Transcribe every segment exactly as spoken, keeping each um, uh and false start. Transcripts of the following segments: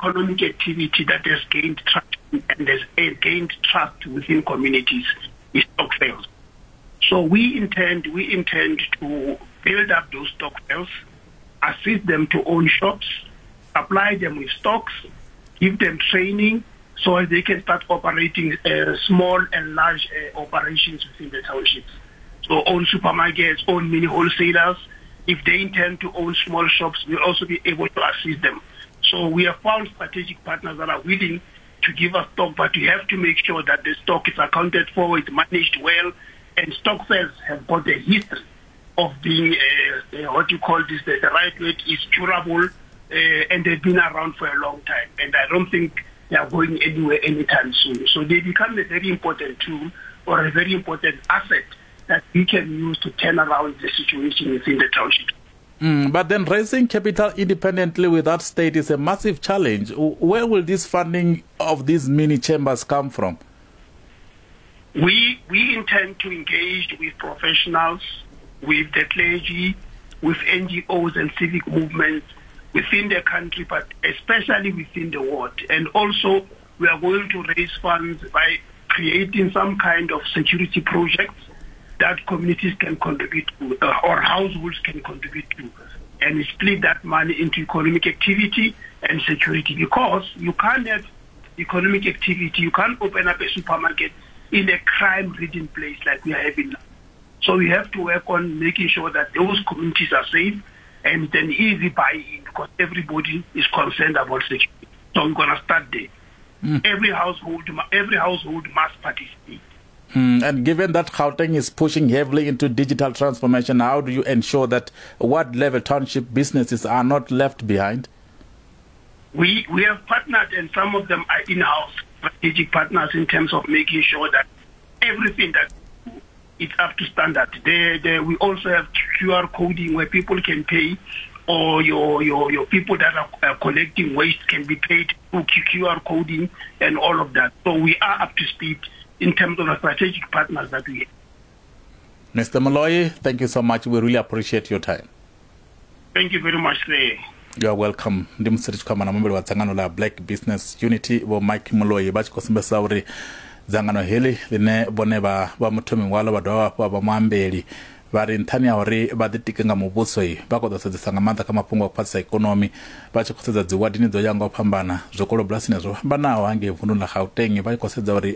economic activity that has gained traction and has gained trust within communities is stokvels. So we intend we intend to build up those stokvels, assist them to own shops, supply them with stocks, give them training so they can start operating uh, small and large uh, operations within the townships. So own supermarkets, own mini wholesalers. If they intend to own small shops, we'll also be able to assist them. So we have found strategic partners that are willing to give us stock, but we have to make sure that the stock is accounted for, it's managed well, and stokvels have got a history of being, uh, uh, what you call this, the, the right word is durable, uh, and they've been around for a long time. And I don't think they are going anywhere anytime soon. So they become a very important tool or a very important asset that we can use to turn around the situation within the township. Mm, but then raising capital independently without state is a massive challenge. Where will this funding of these mini chambers come from? We, we intend to engage with professionals, with the clergy, with N G Os and civic movements within the country, but especially within the ward. And also we are going to raise funds by creating some kind of security projects that communities can contribute to, uh, or households can contribute to, and split that money into economic activity and security, because you can't have economic activity, you can't open up a supermarket in a crime-ridden place like we are having now. So we have to work on making sure that those communities are safe and it's an easy buy-in, because everybody is concerned about security. So we're gonna start there. Mm. Every household, every household must participate. Mm, and given that Gauteng is pushing heavily into digital transformation, how do you ensure that ward level township businesses are not left behind? We, we have partnered, and some of them are in-house strategic partners in terms of making sure that everything that is up to standard. They, they, we also have Q R coding where people can pay, or your, your, your people that are, are collecting waste can be paid through Q R coding and all of that. So we are up to speed in terms of the strategic partners that we have. Mister Moloi, thank you so much. We really appreciate your time. Thank you very much, sir. You are welcome. Ndi musi ri tshi khou amba na muambeli wa dzangano ḽa Black Business Unity Vho Mike Moloi vha tshi khou sumbedzisa uri dzangano heḽi ḽine vhone vha vha muthomi waḽo vha dovha hafhu vha vha muambeli, vha ri nṱhani ha uri vha ḓitike nga muvhuso vha khou ḓo sedzesa nga maanḓa kha mafhungo a u khwaṱhisa ikonomi, vha tshi khou sedza dzi wadini dzo yaho nga u fhambana, zwikolo bulasini zwo fhambanaho hangei vunduni ḽa Gauteng, vha tshi khou sedza uri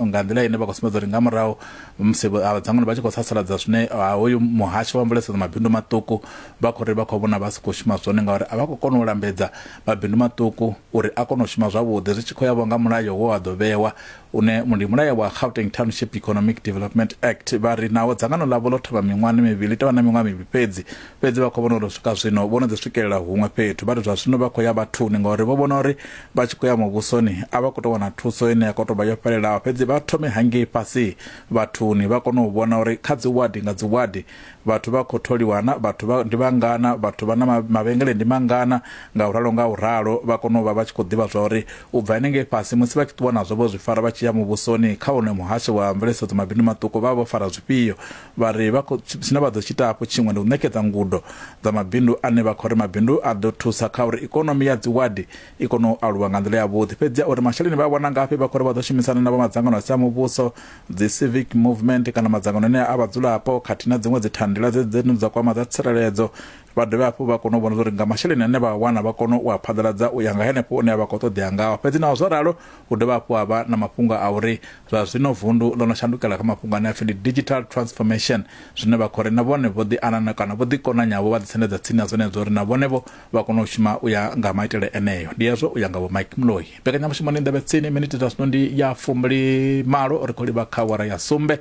nga nḓila ine vha khou sumbedza uri nga murahu musi vhadzangano vha tshi khou sasaladza zwine hoyu muhasho wa mveledziso dza mabindu maṱuku vha khou ri vha khou vhona vha si khou shuma zwone, ngauri a vha khou kona u lambedza mabindu maṱuku uri a kone u shuma zwavhuḓi zwi tshi khou ya vho nga mulayo wo wa ḓo vhewa une ndi mulayo wa Gauteng Township Economic Development Act. Vha ri nawo dzangano ḽavho ḽo thoma miṅwahani mivhili, tovha na miṅwaha mivhili fhedzi, fhedzi vha khou vhona uri u swika zwino vho no ḓi swikelela huṅwe fhethu. Vha ri zwa zwino vha khou ya vhathuni ngauri vho vhona uri vha tshi khou ya muvhusoni a vha khou tou wana thuso ine ya khou tou vha yo fhelelaho, fhedzi vha thome hangei fhasi vhathuni vha kone u vhona uri kha dzi wadi nga dzi wadi vhathu vha khou tholiwana, vhathu vha ndi vhangana, vhathu vha na mavhengele ndi mangana, nga u ralo nga u ralo vha kone u vha vha tshi khou ḓivha zwa uri u bva henengei fhasi musi vha tshi ṱuwa nazwo vho zwi fara vha tshi ya muvhusoni kha wone muhasho wa mveledziso dza mabindu maṱuku vha vho fara zwifhio. Vha ri vha khou zwine vha ḓo tshi ita hafhu tshiṅwe ndi u ṋekedza ngudo dza mabindu ane vha khou ri mabindu a ḓo thusa kha uri ikonomi ya dzi wadi i kone u aluwa nga nḓila yavhuḓi. Fhedzi uri masheleni vha wana ngafhi, vha khou ri vha ḓo shumisana na vha madzangano a si a muvhuso, dzi civic movement kana madzangano ane a vhadzulapo khathihi na dziṅwe dzi thandela dze dza kwama dza tsireledzo. Vha dovhe hafhu vha kone u vhona uri nga masheleni ane vha wana vha kone u a phaḓaladza u ya nga henefho une vha khou ṱoḓea ngaho. Fhedzi naho zwo ralo hu dovha hafhu ha vha na mafhungo a uri zwa zwino vundu ḽo no shandukela kha mafhungo ane a pfi ndi digital transformation, zwine vha khou ri na vhone vho ḓi anana kana vho ḓi konanyavho vha ḓi sendedza tsini na zwenezwo uri na vhone vho vha kone u shuma u ya nga maitele eneyo. Ndi hezwo u ya nga Vho Mike Moloi. Mbekanyamushumo ndi nḓevhe tsini, miniti dza zwino ndi ya fumbili malo, ri khou livha kha awara ya sumbe.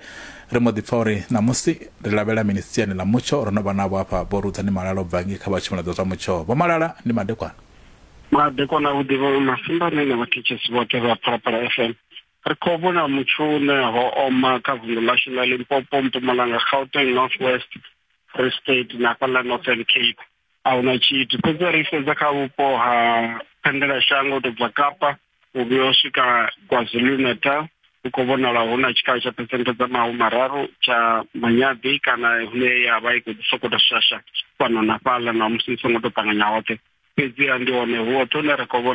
Ri mbo ḓi pfa uri ṋamusi ri lavhelela mini siani ḽa mutsho. Ro no vha navho hafha Vho Rudzani Malala u bva ngei kha vha tshumelo dza zwa mutsho. Vho Malala, ndi madekwana. Madekwana vhuḓi vho Masimbane na vhathetshelesi vhoṱhe vha Phalaphala F M. Ri khou vhona mutsho une ho oma kha vunḓu ḽashu ḽa Limpopo, Mpumalanga, Gauteng, North West, Free State na fhaḽa Northern Cape. A huna tshithu, fhedzi ri sedza kha vhupo ha phendelashango u tou bva Kapa u vhuya u swika KwaZulu-Natal, hu khou vhonala hu na tshikalo tsha phesenthe dza mahumi mararu tsha manyaḓi kana hune ya vha i khou sokou tou shasha fhano na fhaḽa na musi i songo tou ṱanganya hoṱhe. Fhedziha ndi hone hu hoṱhe hune ri khou vhona